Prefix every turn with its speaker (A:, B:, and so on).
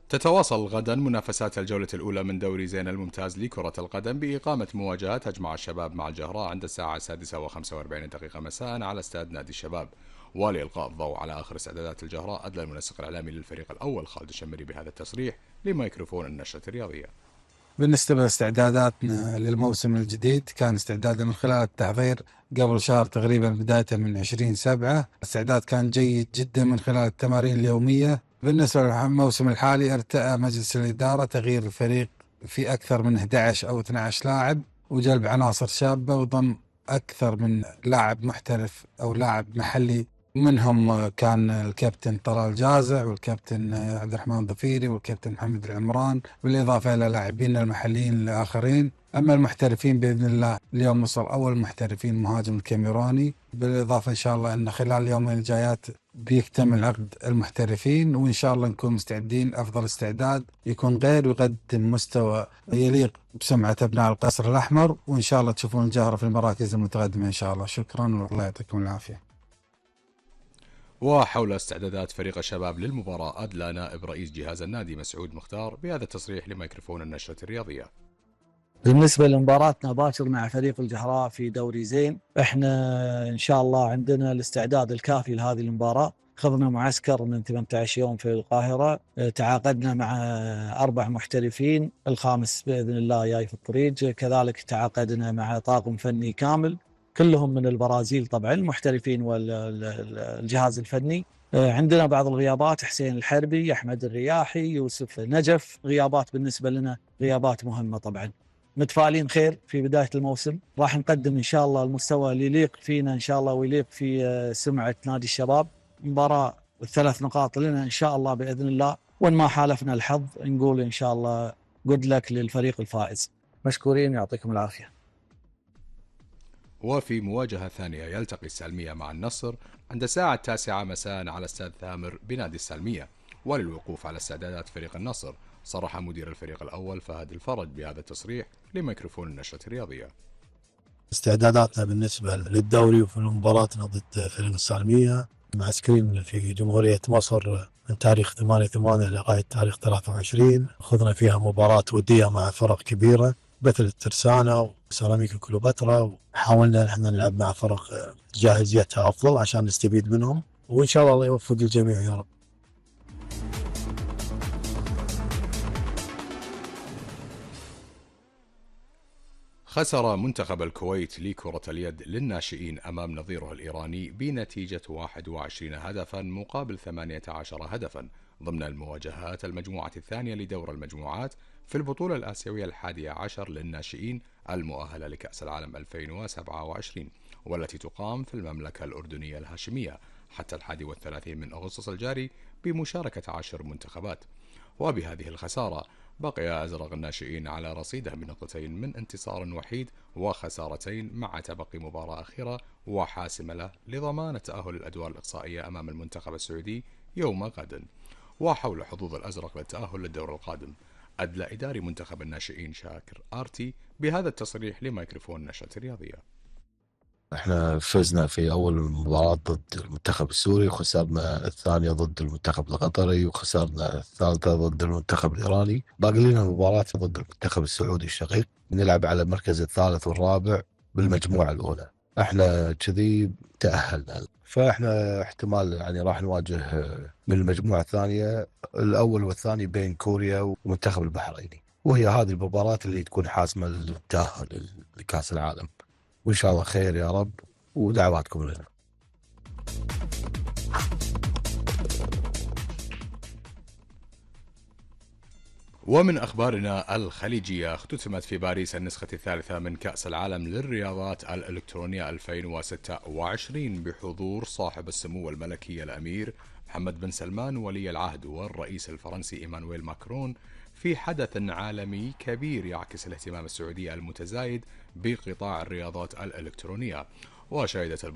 A: تتواصل غدا منافسات الجولة الأولى من دوري زين الممتاز لكرة القدم بإقامة مواجهة تجمع الشباب مع الجهراء عند الساعة 6:45 مساء على استاد نادي الشباب. ولإلقاء الضوء على آخر استعدادات الجهراء، أدلى المنسق الإعلامي للفريق الأول خالد الشمري بهذا التصريح لميكروفون النشرة الرياضية.
B: بالنسبة لاستعداداتنا للموسم الجديد، كان استعدادنا من خلال التحضير قبل شهر تقريبا، بداية من 20/7. الاستعداد كان جيد جدا من خلال التمارين اليومية. بالنسبة للموسم الحالي، ارتأى مجلس الإدارة تغيير الفريق في أكثر من 11 أو 12 لاعب، وجلب عناصر شابة، وضم أكثر من لاعب محترف أو لاعب محلي. منهم كان الكابتن طلال جازع، والكابتن عبد الرحمن ضفيري، والكابتن محمد العمران، بالإضافة إلى لاعبين المحليين الآخرين. أما المحترفين بإذن الله، اليوم وصل أول محترفين مهاجم الكاميراني، بالإضافة إن شاء الله أن خلال اليومين الجايات بيكتمل عقد المحترفين، وإن شاء الله نكون مستعدين أفضل استعداد يكون غير ويقدم مستوى يليق بسمعة أبناء القصر الأحمر، وإن شاء الله تشوفون الجهرة في المراكز المتقدمة إن شاء الله. شكرا والله يعطيكم العافية.
A: وحول استعدادات فريق الشباب للمباراة، أدلى نائب رئيس جهاز النادي مسعود مختار بهذا التصريح لميكروفون النشرة الرياضية.
C: بالنسبة لمباراتنا باكر مع فريق الجهراء في دوري زين، احنا ان شاء الله عندنا الاستعداد الكافي لهذه المباراة. خذنا معسكر من 18 يوم في القاهرة، تعاقدنا مع 4 محترفين، الخامس بإذن الله جاي في الطريق. كذلك تعاقدنا مع طاقم فني كامل كلهم من البرازيل، طبعا المحترفين والجهاز الفني. عندنا بعض الغيابات، حسين الحربي، أحمد الرياحي، يوسف نجف، غيابات بالنسبة لنا غيابات مهمة. طبعا متفائلين خير في بداية الموسم، راح نقدم إن شاء الله المستوى اللي يليق فينا إن شاء الله ويليق في سمعة نادي الشباب. مباراة 3 نقاط لنا إن شاء الله بإذن الله، وإن ما حالفنا الحظ نقول إن شاء الله good luck للفريق الفائز. مشكورين، يعطيكم العافية.
A: وفي مواجهة ثانية يلتقي السالمية مع النصر عند الساعة 9 مساء على استاد ثامر بنادي السالمية. وللوقوف على استعدادات فريق النصر، صرح مدير الفريق الأول فهد الفرج بهذا التصريح لميكروفون النشرة الرياضية.
D: استعداداتنا بالنسبة للدوري وفي مباراتنا ضد فريق السالمية، معسكرين في جمهورية مصر من تاريخ 8/8 لغاية تاريخ 23. خذنا فيها مباراة ودية مع فرق كبيرة مثل الترسانة وسيراميكا كليوباترا، وحاولنا نحن نلعب مع فرق جاهزيتها أفضل عشان نستفيد منهم، وإن شاء الله يوفق الجميع يا رب.
A: خسر منتخب الكويت لكرة اليد للناشئين أمام نظيره الإيراني بنتيجة 21 هدفا مقابل 18 هدفا ضمن المواجهات المجموعة الثانية لدور المجموعات في البطولة الآسيوية 11 للناشئين المؤهلة لكأس العالم 2027، والتي تقام في المملكة الأردنية الهاشمية حتى 31 من أغسطس الجاري بمشاركة 10 منتخبات. وبهذه الخسارة بقي أزرق الناشئين على رصيده بنقطتين من انتصار وحيد وخسارتين، مع تبقي مباراة أخيرة وحاسمة له لضمان التأهل للأدوار الإقصائية أمام المنتخب السعودي يوم غد. وحول حظوظ الأزرق للتأهل للدور القادم، أدلى إداري منتخب الناشئين شاكر آرتي بهذا التصريح لميكروفون نشرة الرياضية.
D: احنا فزنا في اول مباراة ضد المنتخب السوري، وخسرنا الثانية ضد المنتخب القطري، وخسرنا الثالثة ضد المنتخب الايراني. باقي لنا مباراة ضد المنتخب السعودي الشقيق، بنلعب على المركز الثالث والرابع بالمجموعة الاولى. احنا كذي تأهلنا، فاحنا احتمال يعني راح نواجه من المجموعة الثانية الاول والثاني بين كوريا والمنتخب البحريني، وهي هذه المباراة اللي تكون حاسمة للتأهل لكأس العالم. وإن شاء الله خير يا رب، ودعواتكم لنا.
A: ومن أخبارنا الخليجية، اختتمت في باريس النسخة الثالثة من كأس العالم للرياضات الإلكترونية 2026 بحضور صاحب السمو الملكي الأمير محمد بن سلمان ولي العهد والرئيس الفرنسي إيمانويل ماكرون، في حدث عالمي كبير يعكس الاهتمام السعودي المتزايد بقطاع الرياضات الإلكترونية. وشهدت